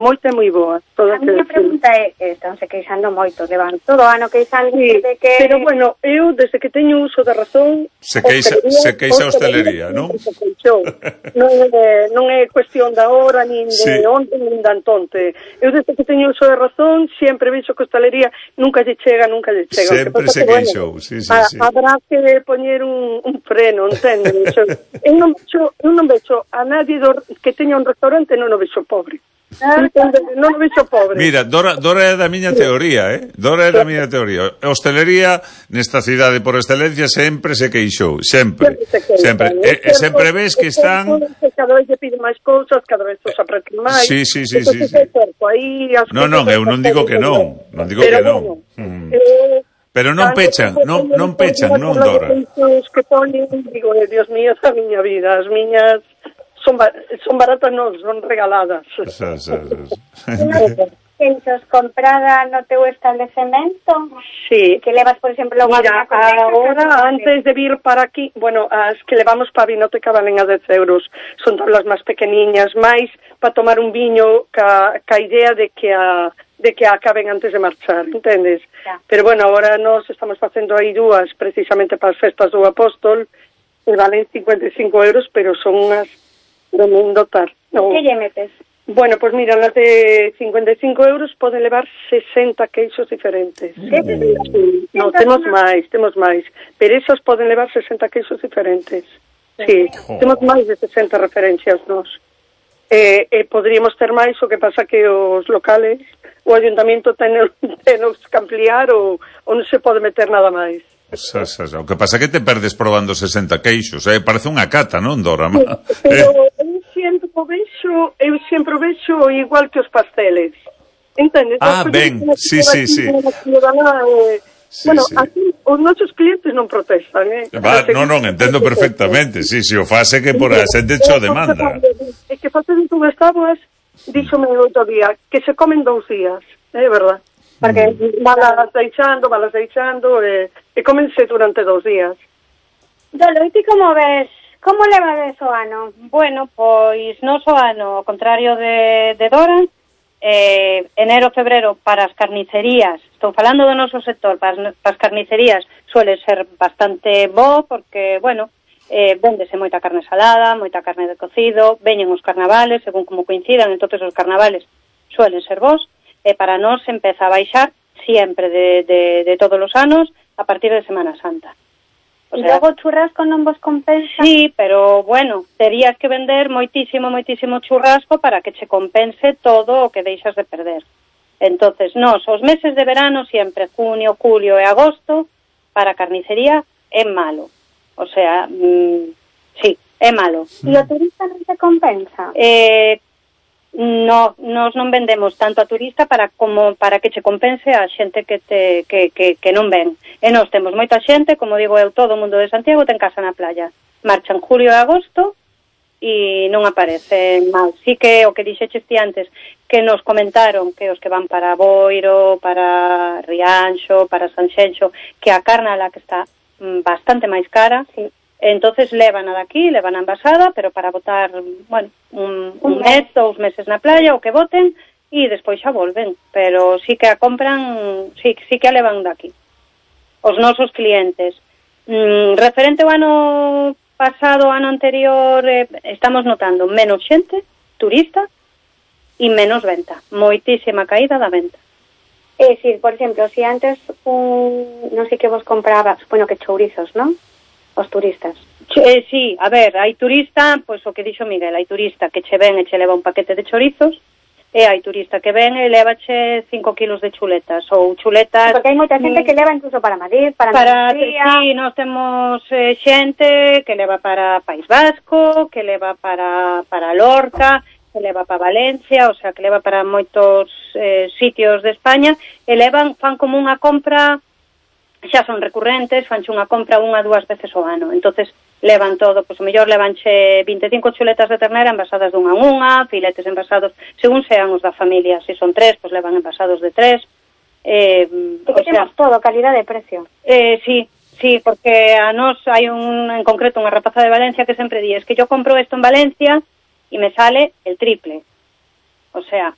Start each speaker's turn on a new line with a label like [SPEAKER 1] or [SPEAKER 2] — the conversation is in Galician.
[SPEAKER 1] moita e moi boa.
[SPEAKER 2] A miña pregunta é, estánse queixando moito, levan todo o ano queixando de que...
[SPEAKER 1] Pero bueno, eu, desde que teño uso da razón...
[SPEAKER 3] Se queixa a hostelería, non?
[SPEAKER 1] Non é cuestión da hora, nin de onde, nin de antonte. Eu, desde que teño uso da razón, sempre vexo que a hostelería nunca lle chega.
[SPEAKER 3] Sempre se queixou, sí.
[SPEAKER 1] Habrá que poñer un freno, entende? Eu non vexo a nadie que teña un restaurante, non o vexo pobre. Non o vexo pobre.
[SPEAKER 3] Mira, Dora é da miña teoría, Dora é da miña teoría. A hostelería nesta cidade por excelencia sempre se queixou, sempre. E sempre ves que están...
[SPEAKER 1] Cada vez lle piden máis cousas, cada vez os apretan máis.
[SPEAKER 3] Sí. Non, eu non digo que non. Non digo que non. Pero non pechan, non, Dora.
[SPEAKER 1] Os que ponen, digo, Dios mío, a miña vida, as miñas... Son baratas, non, son regaladas.
[SPEAKER 2] Pensos comprada no teu establecemento?
[SPEAKER 1] Sí.
[SPEAKER 2] Que levas, por exemplo,
[SPEAKER 1] mira, agora, antes de vir para aquí, bueno, as que levamos para a vinoteca valen a 10 euros. Son tablas máis pequeniñas, máis para tomar un viño ca idea de que acaben antes de marchar, entendes?
[SPEAKER 2] Ya.
[SPEAKER 1] Pero bueno, agora nos estamos facendo aí dúas precisamente para as festas do Apóstol, e valen 55 euros, pero son unhas tremendo tar.
[SPEAKER 2] No. Que lle metes?
[SPEAKER 1] Bueno, pues mira, las de 55 euros poden levar 60 queixos diferentes. No, temos máis. Pero esas poden levar 60 queixos diferentes. Sí, temos máis de 60 referencias nos. Podríamos ter máis, o que pasa que os locales, o ayuntamiento tenos que ampliar ou non se pode meter nada máis.
[SPEAKER 3] O que pasa que te perdes probando 60 queixos, parece unha cata, non, Dora?
[SPEAKER 1] Pero eu sempre vexo igual que os pasteles, entendes?
[SPEAKER 3] Ben, sí.
[SPEAKER 1] Bueno, aquí os nosos clientes non protestan,
[SPEAKER 3] Non, entendo perfectamente, sí, o fase que por a xente cho demanda.
[SPEAKER 1] É que facen unhas táboas, díxome outro día, que se comen 2 días, é verdad? Porque valas deixando e comense durante 2 días.
[SPEAKER 2] Dolo, e ti como ves? Como levades o ano? Bueno, pois non o ano, ao contrario de Dora, enero, febrero para as carnicerías, estou falando do noso sector, para as carnicerías suele ser bastante bo, porque, bueno, véndese moita carne salada, moita carne de cocido, veñen os carnavales, según como coincidan, entonces os carnavales suelen ser bons, e para nós empeza a baixar sempre de todos os anos a partir de Semana Santa. O sea, logo churrasco non vos compensa? Sí, pero bueno, terías que vender moitísimo churrasco para que che compense todo o que deixas de perder. Entonces, nós, os meses de verano sempre, junio, julio e agosto, para a carnicería é malo. O sea, sí, é malo. E o turista non te compensa? No, nos non vendemos tanto a turista para que che compense a xente que non ven. E nós temos moita xente, como digo eu, todo o mundo de Santiago ten casa na playa. Marchan julio e agosto e non aparece mal. Sí que o que dixeches ti antes, que nos comentaron que os que van para Boiro, para Rianxo, para Sanxenxo, que a carne la que está bastante máis cara, sí. Entonces levan a daqui, levan a envasada, pero para botar, bueno, un mes, 2 meses na playa, o que boten, e despois xa volven. Pero sí que a compran, sí que a levan daqui. Os nosos clientes. Referente ao ano pasado, ano anterior, estamos notando menos xente, turista, e menos venta. Moitísima caída da venta. É dicir, por exemplo, se antes non sei que vos compraba, supoño que chourizos, non? Os turistas.
[SPEAKER 1] Sí, a ver, hai turista, pois o que dixo Miguel, hai turista que che ven e che leva un paquete de chorizos, e hai turista que ven e levache 5 kilos de chuletas, ou chuletas...
[SPEAKER 2] Porque hai moita xente que leva incluso para Madrid, para Andalucía...
[SPEAKER 1] Sí, nós temos xente que leva para País Vasco, que leva para Lorca, que leva para Valencia, o sea, que leva para moitos sitios de España, e fan como unha compra... xa son recurrentes, fanche unha compra 1 a 2 veces ao ano. Entonces levan todo, pois o mellor levanche 25 chuletas de ternera envasadas dunha en unha, filetes envasados, según sean os da familia. Se son 3, pois levan envasados de 3.
[SPEAKER 2] Que temos todo, calidad de precio.
[SPEAKER 1] Sí, porque a nós hai en concreto unha rapaza de Valencia que sempre di, es que yo compro esto en Valencia e me sale el triple. O sea,